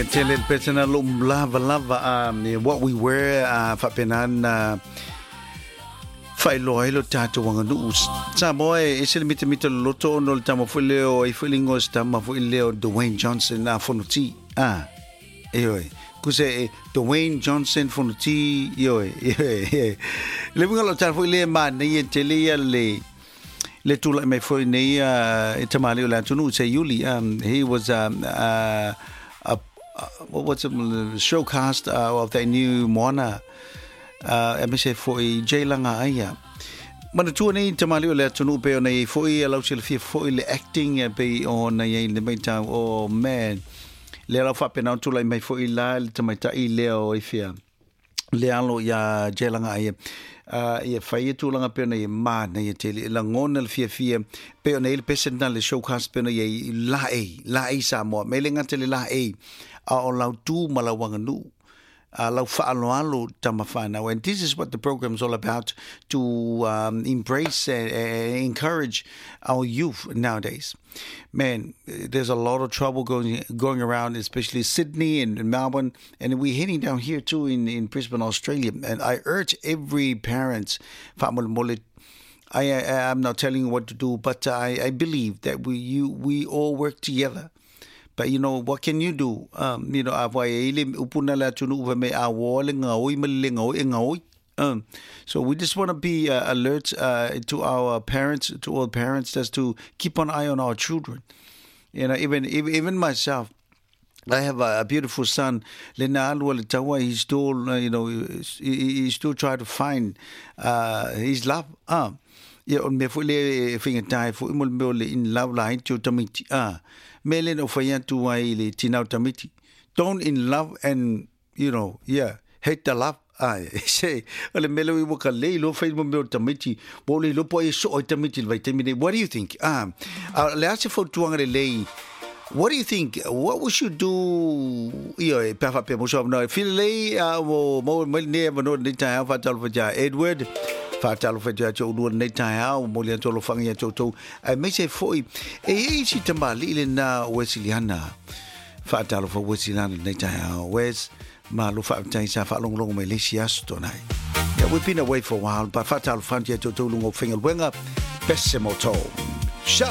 Tele le pese na lo lava lava what we wear faapena na faailoa ai lo tatou aganuu Samoa e ese le mitamita loloto ona o le tama foi lea o ai foi le igoa o se tama foi lea o Dwayne Johnson a Fonoti a ioe kuse e Dwayne Johnson Fonoti ioe ioe le uiga o lau tala foi lea e manaia tele ia le le tulai mai foi nei e tamalii o le atunuu Seiuli. He was a what what's it, showcast of that new Moana aemaise foi Jay Laga'aia. Manatua nei tamalii o le atunuu pei ona i ai foi lau silafia foi le acting pei ona i ai le maitau. Oh man, lea lau faapena ona tulai mai foi la le tamaitai lea o ifea le alo iā Jay Laga'aia ia fai e tulaga pei ona i manaia tele e lagona le fiafia pei ona i ai le pese lena le showcast pei ona i ai laei laei Samoa me le gata i le laei a o lau tu ma lau aganuu a lau faaaloalo tama whanau. And this is what the program is all about, to embrace and encourage our youth nowadays. Man, there's a lot of trouble going around, especially Sydney and Melbourne, and we're heading down here too in Brisbane, Australia. And I urge every parent, faamolemole, I'm not telling you what to do, but I believe that we all work together. But you know, what can you do? A wai e ile upuna le atunuu fai mai a ua le gaoi ma le le gaoi e gaoi. So we just want to be alert to our parents, to all parents, just to keep an eye on our children. Even myself, I have a beautiful son. Lena alu le taua, he's still, you know, he still try to find his love. Ia, o le mea foi lea e faigata ai foi mo le mea o le in love laiti o tamaiti. Ah, mea lea na ou fai atu ai i le tina o tamaiti. Don't in love and, yeah, hate the love. Ai, se, o le mea lea ua ka le iloa fai mo mea o tamaiti. Ua ou le iloa po o ai e soo ai tamaiti i le vaitaimi nei. What do you think? Ah, a, le a se fautuaga lelei? What do you think? What we should do? Ia, e pe a faapea mo so avanoa. Feel lelei a mo mo mai lenei avanoa lenei taeao faatalofa ia Edward. Faatalofa ia te oulua lenei taeao, momoli atu alofaga ia te outou. Aemaise foi, e i ai si tamalii lena o Wesiliana. Faatalofa Wesiliana lenei taeao. Wes, malo faafetai sa faalogologo mai le isi aso tuanai. Yeah, we've been away for a while, but faatalofa atu ia te outou luga o faigaluega. Pese mo tou. Shove!